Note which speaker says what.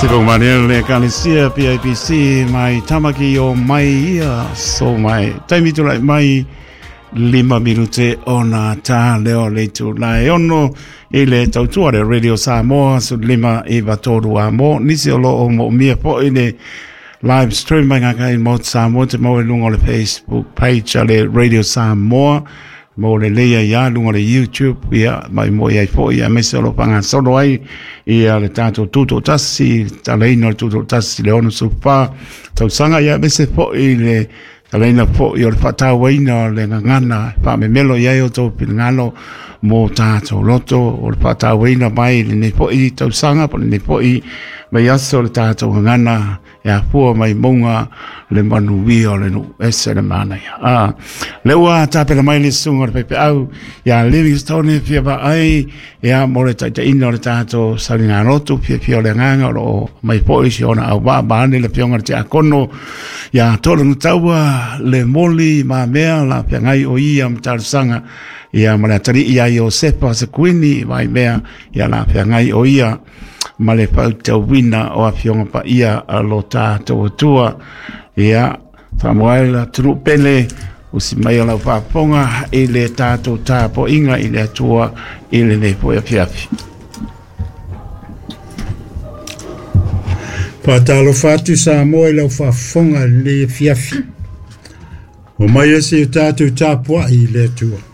Speaker 1: Se pau mane le Ekalesia PIPC mai Tamaki o mai ia so mai taimi tulai mai 5 minute ona tā leo le tū lai 6 i le tautua le Radio Samoa su 5 i vatoru a mo nisi o lo o mo mia po i le live stream mai ngā kai mo Samoa te mau e lunga o le Facebook page a le Radio Samoa mo le leia ia lunga o le YouTube ia mai mo ia i po ia mese o lo panga solo ai ia le tātou tūtō tasi talaina o le tūtō tasi le ono supa tausanga ia mese po i le talaina po i o le whātāwaina o le ngangana whaamemelo ia o tō pinangalo mō tātou loto o le whātāwaina mai le nei po i tausanga po le nei po i mai aso le tātou ngangana e afua mai monga le manuia o le nu ese le mana ia. Ah, le ua tāpera mai le sunga o le pepe au, ia Livingstone fia va ai, ia mo le taitaina o le tātou salinga lotu, fia fia o le nganga o lo mai po isi ona au wa maane le fionga le te akono, ia tō le taua le moli ma mea la fia ngai o ia mtarsanga, ia ma le atari ia Iosefa se kuini mai mea, ia la fia ngai o ia, ma le fautauina o afioga paia a lo tatou Atua. Ia, faamoaela tunu pele, usi mai o lau faafofoga i le tatou tapoaiga i le Atua i lenei foi afiafi.
Speaker 2: Faatalofa atu Samoa i lau faafofoga i lenei afiafi. O mai ese o tātou tapuai i le Atua.